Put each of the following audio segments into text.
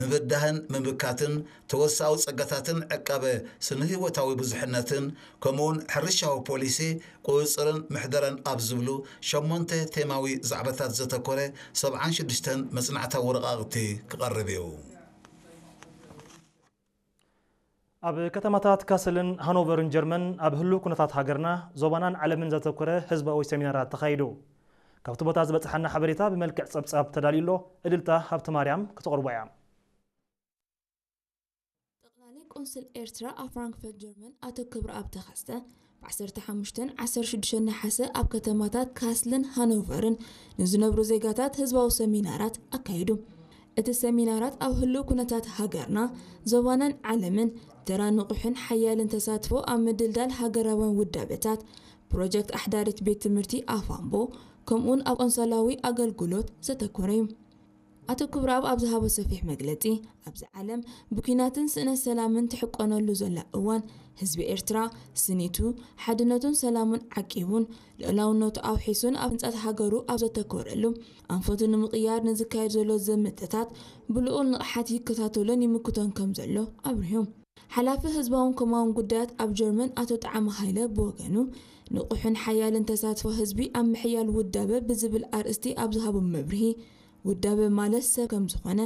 ምብዳህን ምምካትን ተወሳዊ ጸጋታትን ዕቃበ ስነ-ህይወታዊ ብዙሕነትን ከምኡውን ሕርሻዊ ፖሊሲ ቁጽጽርን ምሕደራን ኣብ ዝብሉ ሸሞንተ ቴማዊ ዛዕባታት ዘተኮረ ሰብዓን ሽዱሽተን መጽናዕታዊ ወረቓቕቲ ክቐርብ እዩ። ኣብ ከተማታት ካስልን ሃኖቨርን ጀርመን ኣብ ህሉው ኩነታት ሃገርና፣ ዞባናን ዓለምን ዘተኮረ ህዝባዊ ሰሚናራት ተኻይዱ። ካብቲ ቦታ ዝበጽሓና ሓበሬታ ብመልክዕ ጸብጻብ ተዳልዩ ኣሎ። እድልታ ሃብተማርያም ክተቕርቦ እያ። ጠቕላሊ ቆንስል ኤርትራ ኣብ ፍራንክፈርት ጀርመን ኣቶ ክብረኣብ ተኸስተ ብ ዓሰርተ ሓሙሽተን ዓሰርተ ሽዱሽተን ነሓሰ ኣብ ከተማታት ካስልን ሃኖቨርን ንዝነብሩ ዜጋታት ህዝባዊ ሰሚናራት ኣካይዱ። እቲ ሰሚናራት ኣብ ህሉው ኩነታት ሃገርና፣ ዞባናን ዓለምን ተራ ንቑሕን ሓያልን ተሳትፎ ኣብ ምድልዳል ሃገራውያን ውዳበታት፣ ፕሮጀክት ኣሕዳሪት ቤት ትምህርቲ ኣፋምቦ፣ ከምኡውን ኣብ ቆንሰላዊ ኣገልግሎት ዘተኮረ እዩ። ኣቶ ክብረኣብ ኣብ ዝሃቦ ሰፊሕ መግለጺ፣ ኣብዚ ዓለም ብኲናትን ስእነት ሰላምን ትሕቆነሉ ዘላ እዋን፣ ህዝቢ ኤርትራ ስኒቱ፣ ሓድነቱን ሰላሙን ዓቂቡን፣ ልኡላውነቱ ኣውሒሱን ኣብ ህንጸት ሃገሩ ኣብ ዘተኮረሉ፣ ኣንፈቱ ንምቕያር ንዝካየድ ዘሎ ዘመተታት ብልኡል ንቕሓት ይከታተሎን ይምክቶን ከም ዘሎ ኣብሪሁ። ሓላፊ ህዝባውን ኮማውን ጉዳያት ኣብ ጀርመን ኣቶ ጣዕመ ሃይለ ብወገኑ፣ ንቑሕን ሓያልን ተሳትፎ ህዝቢ ኣብ ምሕያል ውዳበ ብዝብል ኣርእስቲ ኣብ ዝሃቦ መብርሂ፣ ውዳበ ማለት ሰብ ከም ዝኾነ፣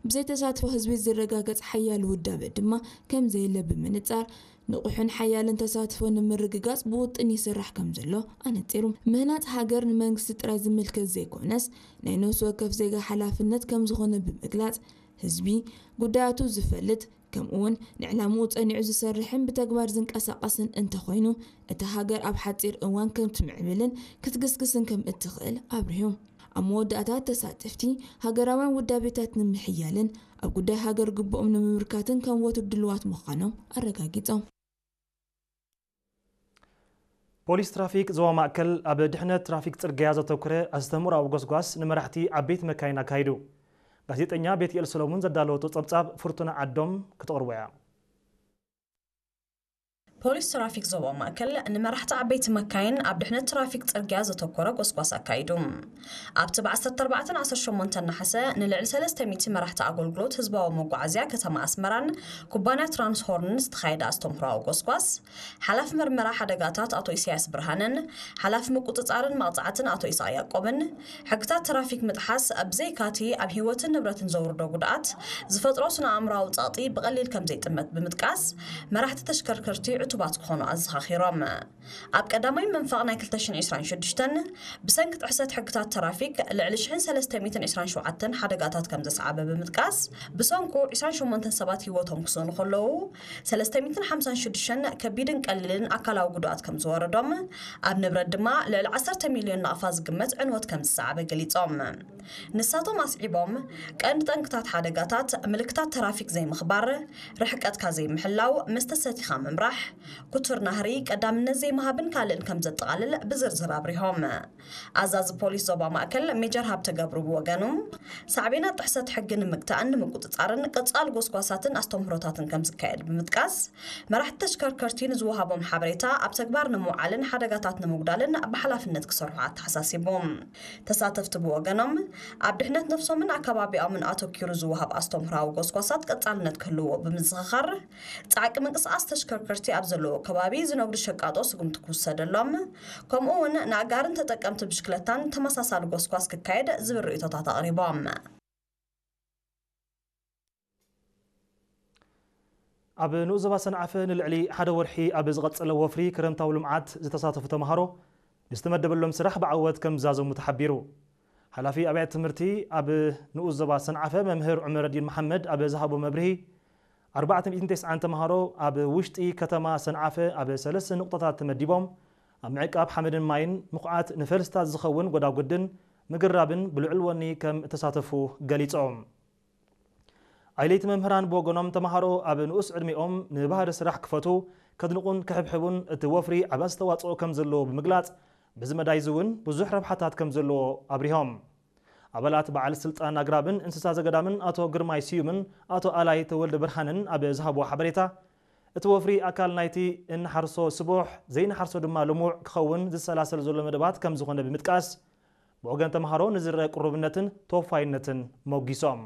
ብዘይ ተሳትፎ ህዝቢ ዝረጋገጽ ሓያል ውዳበ ድማ ከም ዘየለ ብምንጻር፣ ንቑሕን ሓያልን ተሳትፎ ንምርግጋጽ ብውጥን ይስራሕ ከም ዘሎ ኣነጺሩ። ምህናጽ ሃገር ንመንግስቲ ጥራይ ዝምልከት ዘይኮነስ፣ ናይ ነፍሲ ወከፍ ዜጋ ሓላፍነት ከም ዝኾነ ብምግላጽ፣ ህዝቢ ጉዳያቱ ዝፈልጥ፣ ከምኡውን ንዕላምኡ ጸኒዑ ዝሰርሕን ብተግባር ዝንቀሳቐስን እንተኾይኑ፣ እታ ሃገር ኣብ ሓጺር እዋን ከም ትምዕብልን ክትግስግስን ከም እትኽእል ኣብሪሁ። ኣብ መወዳእታ፣ ተሳተፍቲ፣ ሃገራውያን ውዳቤታት ንምሕያልን ኣብ ጉዳይ ሃገር ግቡኦም ንምምርካትን ከም ወትሩ ድሉዋት ምዃኖም ኣረጋጊጾም። ፖሊስ ትራፊክ ዞባ ማእከል ኣብ ድሕነት ትራፊክ ጽርግያ ዘተኩረ ኣስተምህሮኣዊ ጎስጓስ ንመራሕቲ ዓበይቲ መካይን ኣካይዱ። ጋዜጠኛ ቤትኤል ሰሎሙን ዘዳለወቶ ጸብጻብ ፍርቱና ዓዶም ክተቕርቦ እያ። ፖሊስ ትራፊክ ዞባ ማእከል ንመራሕቲ ዓበይቲ መካይን ኣብ ድሕነት ትራፊክ ጽርግያ ዘተኮረ ጎስጓስ ኣካይዱ። ኣብቲ ብ ዓሰርተ ኣርባዕተን ዓሰርተ ሸሞንተን ነሓሰ ንልዕሊ ሰለስተ ሚእቲ መራሕቲ ኣገልግሎት ህዝባዊ መጓዓዝያ ከተማ ኣስመራን ኩባንያ ትራንስሆርንን ዝተኻየደ ኣስተምህሮኣዊ ጎስጓስ፣ ሓላፊ መርመራ ሓደጋታት ኣቶ ኢሳያስ ብርሃነን ሓላፊ ምቁጽጻርን መቕጻዕትን ኣቶ ኢሳቕ ያዕቆብን፣ ሕግታት ትራፊክ ምጥሓስ ብዘይካቲ ኣብ ህይወትን ንብረትን ዘውርዶ ጉድኣት ዝፈጥሮ ስነ ኣእምሮኣዊ ጸቕጢ ብቐሊል ከም ዘይጥመት ብምጥቃስ፣ መራሕቲ ተሽከርከርቲ ዕቱባት ክኾኑ ኣዘኻኺሮም። ኣብ ቀዳማይ መንፈቕ ናይ ክልተ ሽሕን ዕስራን ሽዱሽተን ብሰንኪ ጥሕሰት ሕግታት ትራፊክ ልዕሊ ሽሕን ሰለስተ ሚእትን ዕስራን ሸውዓተን ሓደጋታት ከም ዘስዓበ ብምጥቃስ፣ ብሰንኩ ዕስራን ሸሞንተን ሰባት ህይወቶም ክስእኑ ከለዉ፣ ሰለስተ ሚእትን ሓምሳን ሽዱሽተን ከቢድን ቀሊልን ኣካላዊ ጉድኣት ከም ዝወረዶም፣ ኣብ ንብረት ድማ ልዕሊ ዓሰርተ ሚልዮን ናቕፋ ዝግመት ዕንወት ከም ዝሰዓበ ገሊጾም። ንሳቶም ኣስዒቦም፣ ቀንዲ ጠንቅታት ሓደጋታት ምልክታት ትራፊክ ዘይምኽባር፣ ርሕቀትካ ዘይምሕላው፣ መስተ ሰቲኻ ምምራሕ፣ ክቱር ናህሪ፣ ቀዳምነት ዘይምሃብን ካልእን ከም ዘጠቓልል ብዝርዝር ኣብሪሆም። ኣዛዚ ፖሊስ ዞባ ማእከል ሜጀር ሃብተ ገብሩ ብወገኑ፣ ሳዕቤናት ጥሕሰት ሕጊ ንምግታእን ንምቁጽጻርን ቀጻሊ ጎስጓሳትን ኣስተምህሮታትን ከም ዝካየድ ብምጥቃስ፣ መራሕቲ ተሽከርከርቲ ንዝወሃቦም ሓበሬታ ኣብ ተግባር ንምውዓልን ሓደጋታት ንምጉዳልን ብሓላፍነት ክሰርሑ ኣተሓሳሲቡ። ተሳተፍቲ ብወገኖም፣ ኣብ ድሕነት ነፍሶምን ኣከባቢኦምን ኣተኪሩ ዝወሃብ ኣስተምህሮኣዊ ጎስጓሳት ቀጻልነት ክህልዎ ብምዝኽኻር፣ ጻዕቂ ምንቅስቓስ ተሽከርከርቲ ኣብ ዘለዎ ከባቢ ዝነግዱ ሸቃጦ ስጉምቲ ክውሰደሎም፣ ከምኡ እውን ንኣጋርን ተጠቀምቲ ብሽክለታን ተመሳሳሊ ጎስጓስ ክካየድ ዝብል ርእይቶታት ኣቕሪቦም። ኣብ ንኡስ ዞባ ሰንዓፈ ንልዕሊ ሓደ ወርሒ ኣብ ዝቐጸለ ወፍሪ ክረምታዊ ልምዓት ዝተሳተፉ ተምሃሮ ንዝተመደበሎም ስራሕ ብዓወት ከም ዝዛዘሙ ተሓቢሩ። ሓላፊ ኣብያተ ትምህርቲ ኣብ ንኡስ ዞባ ሰንዓፈ መምህር ዑመረዲን መሓመድ ኣብ ዝሃቦ መብርሂ፣ ኣርባዕተ ሚእትን ተስዓን ተምሃሮ ኣብ ውሽጢ ከተማ ሰንዓፈ ኣብ ሰለስተ ንቑጣታት ተመዲቦም ኣብ ምዕቃብ ሓመድን ማይን ምኹዓት ንፈልስታት ዝኸውን ጎዳጉድን ምግራብን ብልዑል ወኒ ከም እተሳተፉ ገሊጾም። ኣይለይቲ መምህራን ብወገኖም ተምሃሮ ኣብ ንኡስ ዕድሚኦም ንባህሪ ስራሕ ክፈቱ፣ ከድንቑን ክሕብሕቡን እቲ ወፍሪ ዓቢ ኣስተዋጽኦ ከም ዘለዎ ብምግላጽ፣ በዚ መዳይ እዚ እውን ብዙሕ ረብሓታት ከም ዘለዎ ኣብሪሆም። ኣባላት በዓል ስልጣን ኣግራብን እንስሳ ዘገዳምን ኣቶ ግርማይ ስዩምን ኣቶ ኣላይ ተወልደ ብርሃንን ኣብ ዝሃብዎ ሓበሬታ፣ እቲ ወፍሪ ኣካል ናይቲ እንሓርሶ ስቡሕ ዘይንሓርሶ ድማ ልሙዕ ክኸውን ዝሰላሰል ዘሎ መደባት ከም ዝኾነ ብምጥቃስ፣ ብወገን ተምሃሮ ንዝረአ ቅሩብነትን ተወፋይነትን ሞጊሶም።